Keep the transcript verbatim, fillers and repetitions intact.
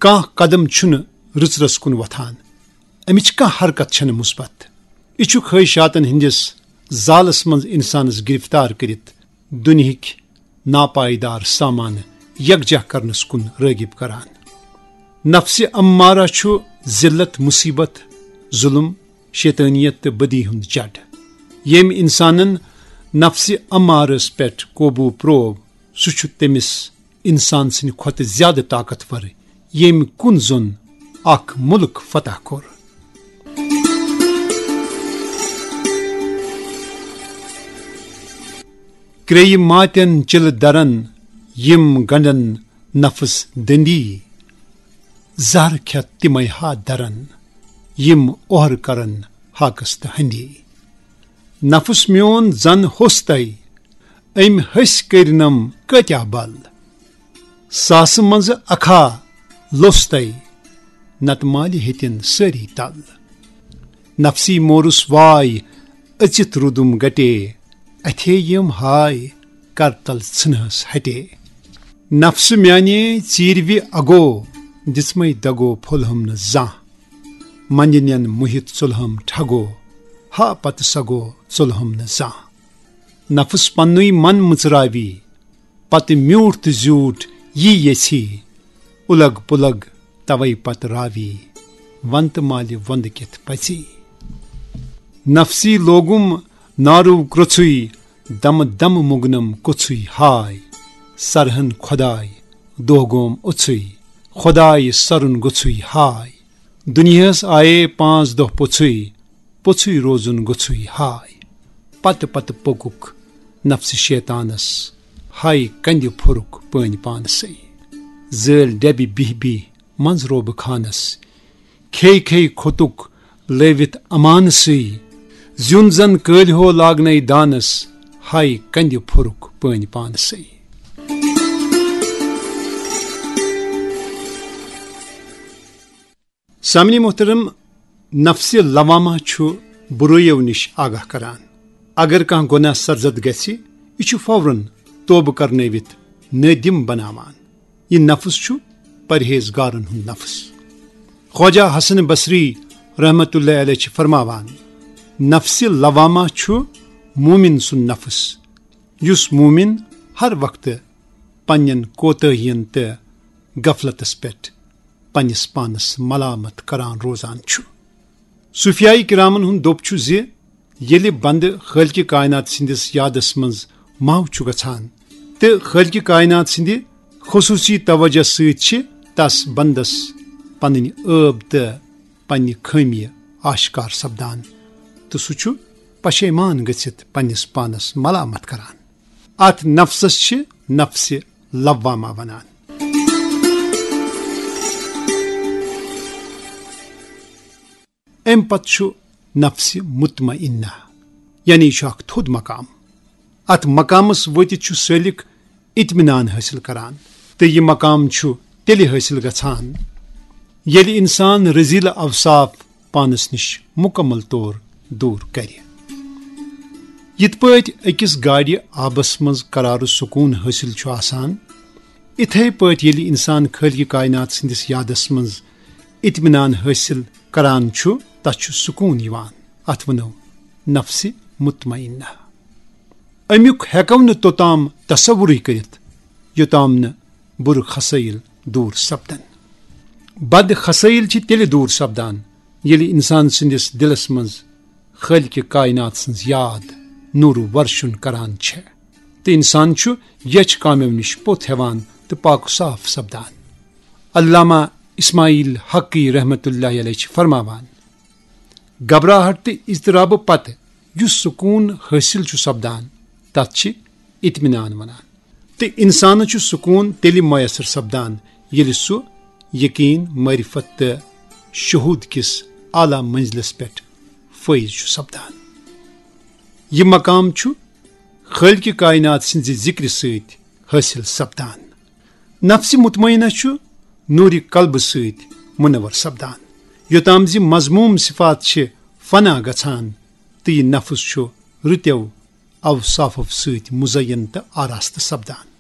کانٛہہ قدم چھُنہٕ رٕژرَس کُن وۄتھان۔ اَمِچ کانٛہہ حرکت چھَنہٕ مثبت۔ یہِ چھُ خٲہِشاتَن ہٕنٛدِس زالَس منٛز اِنسانَس گِرفتار کٔرِتھ دُنیہٕکۍ ناپائیدار سامانہٕ یکجاہ کرنس کُن رٲغب کران۔ نفسِ امارہ چھُ ذلت، مصیبت، ظلم، شیطانیت تہٕ بدی ہُنٛد جڈ۔ ییٚمۍ انسانن نفسِ امارس پٮ۪ٹھ قوبوٗ پروو، سُہ چھُ تٔمِس انسان سٕنٛدِ کھۄتہٕ زیادٕ طاقتور، ییٚمۍ کُن زوٚن اکھ مُلک فتح کوٚر۔ کرٛیٚیہِ ماتٮ۪ن چِلہٕ درن، یِم گنڈن نفس دٔنٛدی۔ زہر کھٮ۪تھ تِمے ہا درن، یِم اوہر کرن ہاکس تہٕ ہندی۔ نفس میون زن ہوٚس تَے، أمۍ ۂسۍ کٔرنم کٲتیاہ بل۔ ساسہٕ منٛزٕ اکھا لوٚس تَے، نتہٕ مالہِ ہیٚتِن سٲری تل۔ نفسی مورُس واے، أژِتھ روٗدُم گٹے، اَتھے یِم ہاے، کرتل ژھٕنہس ہٹے۔ نفسہٕ میانے ژیٖرۍ وِ اگو، دِژمَے دگو پھوٚلہم نہٕ زانٛہہ۔ منٛدِ نٮ۪ن مُہِتھ ژُلہم ٹھگو، ہا پتہٕ سگو ژُلہم نہٕ زانٛہہ۔ نفس پننُے من مٕژراوی، پتہٕ میوٗٹھ تہٕ زیوٗٹھ یی یژھی۔ اُلگ پُلگ توے پتہٕ راوی، ونتہٕ مالہِ وۄندٕ کِتھ پژی۔ نفسی لوگُم نارو کرٛژھُے، دمہٕ دمہٕ مُگنم کوٚژھُے ہاے۔ سرہن خۄداے دۄہ گوم اوٚژھُے، خۄداے سرُن گوٚژھُے ہاے۔ دُنیاہس آیے پانٛژھ دۄہ پوٚژھُے، پوٚژھُے روزُن گوٚژھُے ہاے۔ پتہٕ پتہٕ پوٚکُکھ نفسِ شیطانس، ہاے کندِ پھوٚرُکھ پٲنۍ پانسٕے۔ زٲلۍ ڈبہِ بِہۍ بِہۍ منٛز روبہٕ خانس، کھے کھے کھوٚتُکھ لٲوِتھ امانسٕے۔ زیُن زن کٲلۍ ہو لاگنے دانس، ہاے کندِ پھوٚرُکھ پٲنۍ پانسٕے۔ سامعین محترم، نفسِ لوامہ چھُ بُرٲیو نِش آگاہ کران۔ اگر کانٛہہ گۄناہ سرزد گژھِ، یہِ چھُ فوراً توبہٕ کرنٲوِتھ نٲدِم بناوان۔ یہِ نفس چھُ پرہیزگارن ہُنٛد نفس۔ خواجہ حسن بصری رحمت اللہ علیہ چھِ فرماوان، نفسِ لوامہ چھُ مومن سُنٛد نفس، یُس مومن ہر وقتہٕ پننٮ۪ن کوتاہین تہٕ غفلتس پٮ۪ٹھ پننِس پانس ملامت کران روزان چھُ۔ صوفیائی کرامن ہُنٛد دوٚپ چھُ زِ ییٚلہِ بندٕ خٲلقِ کائنات سٕنٛدِس یادس منٛز محو چھُ گژھان تہٕ خٲلقِ کائنات سٕنٛدِ خصوٗصی توجہ سۭتۍ چھِ تس بندس پنٕنۍ عٲب تہٕ پننہِ خٲمی آشکار سپدان، تہٕ سُہ چھُ پشیمان گٔژھِتھ پننِس پانس ملامت کران۔ اتھ نفسس چھِ نفسِ لوامہ ونان۔ امہِ پتہٕ چھُ نفسِ مطمئنہ، یعنی یہِ چھُ اکھ تھوٚد مقام۔ اتھ مقامس وٲتِتھ چھُ سٲلِک اطمینان حٲصِل کران، تہٕ یہِ مقام چھُ تیٚلہِ حٲصِل گژھان، ییٚلہِ انسان رذیل اوصاف پانس نِش مکمل طور دوٗر کرِ۔ یِتھ پٲٹھۍ أکِس گاڑِ آبس منٛز قرار و سکوٗن حٲصِل چھُ آسان، اِتھے پٲٹھۍ ییٚلہِ انسان خٲلقِ کائنات سٕنٛدِس یادس منٛز اطمینان حٲصِل کران چھُ، تس چھُ سکوٗن یِوان۔ اتھ ونو نفسِ مطمئنہ۔ امیُک ہیکو نہٕ توٚتام تصورٕے کٔرِتھ، یوٚتام نہٕ بُرٕ خسٲیِل دوٗر سپدن۔ بد خسٲیِل چھِ تیٚلہِ دوٗر سپدان، ییٚلہِ انسان سٕنٛدِس دِلس منٛز خٲلقِ کائنات سٕنٛز یاد نوٗرٕ ورشُن کران چھےٚ، تہٕ انسان چھُ یچھ کامیو نِش پوٚت ہٮ۪وان تہٕ پاک و صاف سپدان۔ علامہ اسماعیل حقی رحمت اللہ علیہ چھِ فرماوان، گھبراہٹ تہٕ اضطرابہٕ پتہٕ یُس سکوٗن حٲصِل چھُ سپدان، تتھ چھِ اطمینان ونان۔ تہٕ انسانس چھُ سکوٗن تیٚلہِ میسر سپدان، ییٚلہِ سُہ یقین، معرفت تہٕ شہوٗد کِس اعلیٰ منزلس پٮ۪ٹھ فٲیض چھُ سپدان۔ یہِ مقام چھُ خٲلقِ کائنات سٕنٛزِ ذِکرِ سۭتۍ حٲصِل سپدان۔ نفسِ مطمئنہ چھُ نوٗرِ قلبہٕ سۭتۍ منور سپدان، یوٚتام زِ مذموٗم صفات چھِ فنا گژھان تہٕ یہِ نفس چھُ رٕتٮ۪و اوصافو سۭتۍ مزین تہٕ آراستہٕ سپدان۔